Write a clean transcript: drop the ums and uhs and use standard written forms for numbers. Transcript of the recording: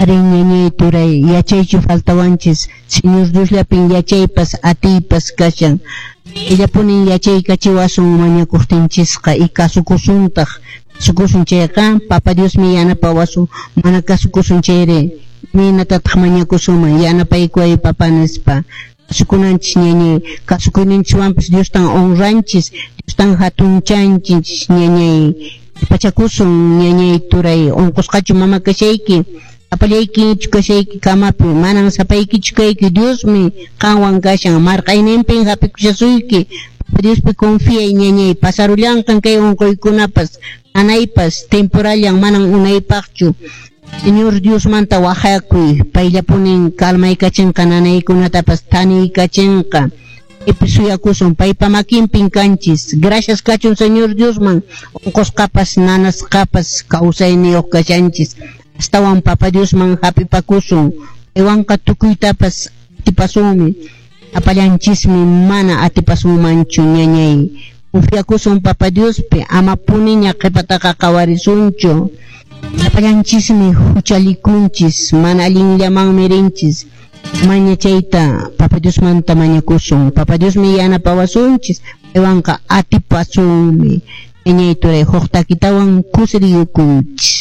Arí, ñañay, turay, yachaychu faltawanchis? Señor Diosllapin yachaypas atiypas kashan. Illapunin yachaykachiwasun mañakuqtinchisqa y kasukusuntaq. Kasukusun chayqa, Papa Diosmi yanapawasun. Mana kasukusun chayri, imaynatataq mañakusunman? Yanapaykuway, Papa, nispa. Kasukunanchis, ñañay, kasukuyninchikwanpas Diostan honranchis, Diostan hatunchanchis, ñañay. Pachakusun, ñañay, turay, unqusqachu mama kashayki? Sapallaykichu kashayki kamapi? Manan sapaykichu kayki, Diosmi qanwan kashan, marq'ayninpin hap'ikushasuyki. Papa Diospi confiay, ñañay, pasarullanqan kay unquykunapas, nanaypas, temporallan, manan unaypaqchu. Señor Diosmanta wajakuy, payllapunin calmaykachinqa nanaykunatapas thaniykachinqa. Paypi suyakusun, paypa makinpin kanchis. Gracias kachun Señor Diosman, unqusqapas, nanasqapas kawsayniyuq kashanchis. Astawan Papa Diosman hap'ipakusun, paywanqa tukuytapas atipasunmi. Apallanchismi mana atipasunmanchu, ñañay. Confiakusun Papa Diospi, ama puniña qhipataqa qhawarisunchu. Apallanchismi huchallikunchis, mana allinllamanmi rinchis. Maña chayta Papa Diosmanta mañakusun. Papa Diosmi yanapawasunchis, paywanqa atipasunmi. Ñañay, turay, huk takitawan kusiriyukunchis.